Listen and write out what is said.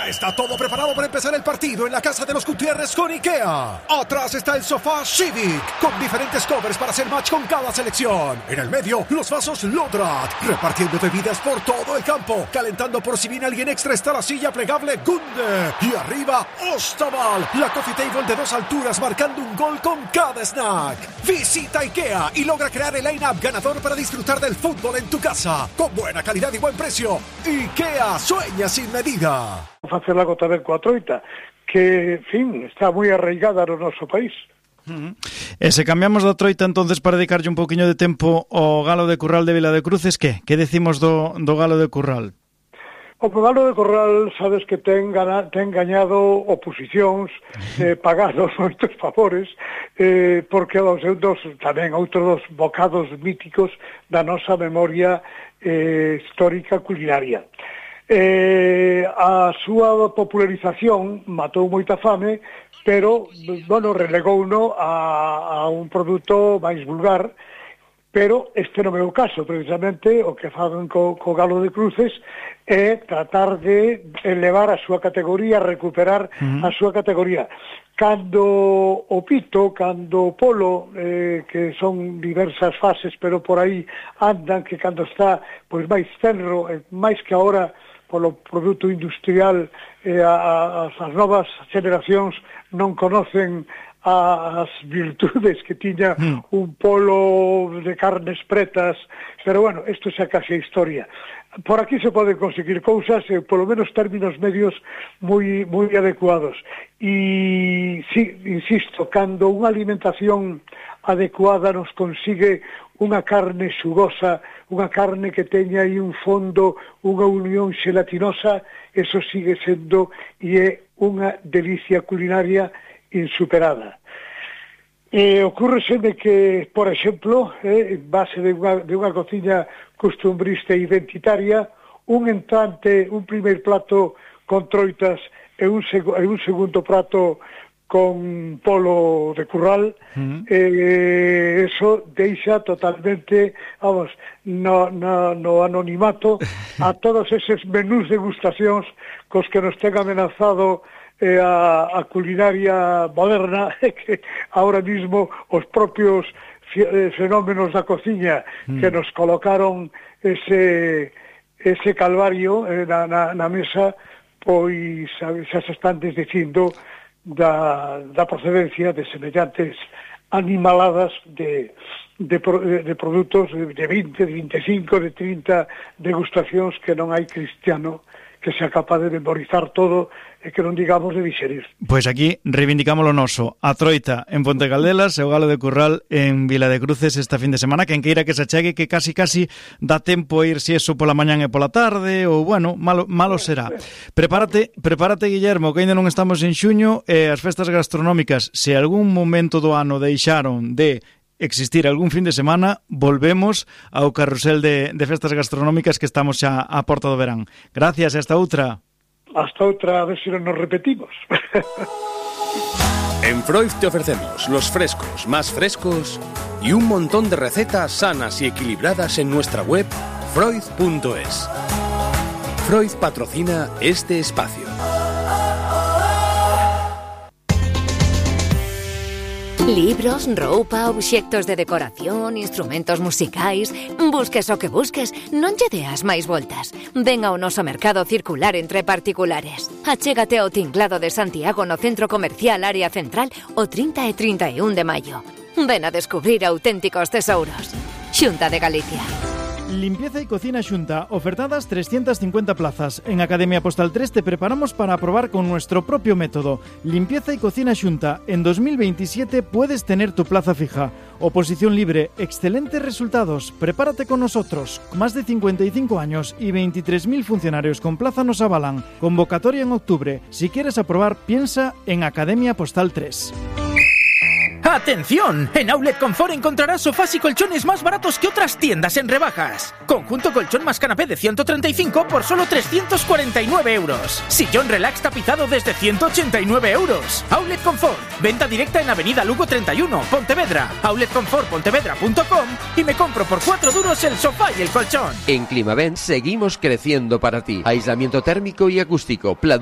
Ya está todo preparado para empezar el partido en la casa de los Gutiérrez con IKEA. Atrás está el sofá Civic, con diferentes covers para hacer match con cada selección. En el medio, los vasos Lodrat, repartiendo bebidas por todo el campo. Calentando por si viene alguien extra está la silla plegable Gunde. Y arriba, Ostaval, la coffee table de 2 alturas marcando un gol con cada snack. Visita IKEA y logra crear el line-up ganador para disfrutar del fútbol en tu casa. Con buena calidad y buen precio. IKEA, sueña sin medida. Facer algo tamén coa troita, que, en fin, está moi arraigada no noso país. E se cambiamos da troita entonces para dedicarlle un poquinho de tempo ao Galo de Curral de Vila de Cruces, que decimos do Galo de Curral? O Galo de Corral, sabes que ten gañado oposicións, pagado moitos favores, porque tamén outros dos bocados míticos da nosa memoria histórica culinaria. A súa popularización matou moita fame, pero, relegouno a un produto máis vulgar, pero este non é o caso. Precisamente o que fan co Galo de Cruces é tratar de elevar a súa categoría, recuperar a súa categoría. Cando o pito, cando o polo, que son diversas fases, pero por aí andan, que cando está pois máis tenro, máis que agora polo produto industrial, as novas generacións non conocen as virtudes que tiña un polo de carnes pretas, pero bueno, isto xa case a historia. Por aquí se poden conseguir cousas, polo menos términos medios moi adecuados. E, sí, insisto, cando unha alimentación adecuada nos consigue unha carne xugosa, unha carne que teña aí un fondo, unha unión xelatinosa, eso sigue sendo e é unha delicia culinaria insuperada. Ocúrreseme que, por exemplo, en base de unha cociña costumbrista e identitaria, un entrante, un primeiro plato con troitas e un segundo plato con polo de curral, eso deixa totalmente, no anonimato a todos eses menús degustacións cos que nos ten amenazado a culinaria moderna, que ahora mismo os propios fenómenos da cociña que nos colocaron ese calvario na mesa, pois xa se están desdicindo da procedencia de semellantes animaladas de produtos de 20, de 25, de 30 degustacións que non hai cristiano que sea capaz de memorizar todo e que non digamos de digerir. Pois aquí reivindicamos o noso, a troita en Ponte Caldelas e o Galo de Curral en Vila de Cruces esta fin de semana, quen queira que se achegue, que casi dá tempo a ir si eso pola mañán e pola tarde, ou bueno, malo será. Prepárate, Guillermo, que ainda non estamos en xuño, e as festas gastronómicas, se algún momento do ano deixaron de existir algún fin de semana, volvemos ao carrusel de festas gastronómicas que estamos xa á porta do verán. Gracias, hasta outra. Hasta outra, a ver se non nos repetimos. En Freud te ofrecemos los frescos más frescos y un montón de recetas sanas y equilibradas en nuestra web freud.es. Freud patrocina este espacio. Libros, roupa, obxectos de decoración, instrumentos musicais... Busques o que busques, non lle deas máis voltas. Ven ao noso mercado circular entre particulares. Achégate ao Tinglado de Santiago no Centro Comercial Área Central o 30 e 31 de maio. Ven a descubrir auténticos tesouros. Xunta de Galicia. Limpieza y cocina Xunta, ofertadas 350 plazas. En Academia Postal 3 te preparamos para probar con nuestro propio método. Limpieza y cocina Xunta. En 2027 puedes tener tu plaza fija. Oposición libre, excelentes resultados. Prepárate con nosotros. Más de 55 años y 23.000 funcionarios con plaza nos avalan. Convocatoria en octubre. Si quieres aprobar, piensa en Academia Postal 3. ¡Atención! En Outlet Confort encontrarás sofás y colchones más baratos que otras tiendas en rebajas. Conjunto colchón más canapé de 135 por solo 349 euros. Sillón relax tapizado desde 189 euros. Outlet Confort. Venta directa en Avenida Lugo 31, Pontevedra. Outletconfortpontevedra.com y me compro por 4 duros el sofá y el colchón. En Climavent seguimos creciendo para ti. Aislamiento térmico y acústico, pladur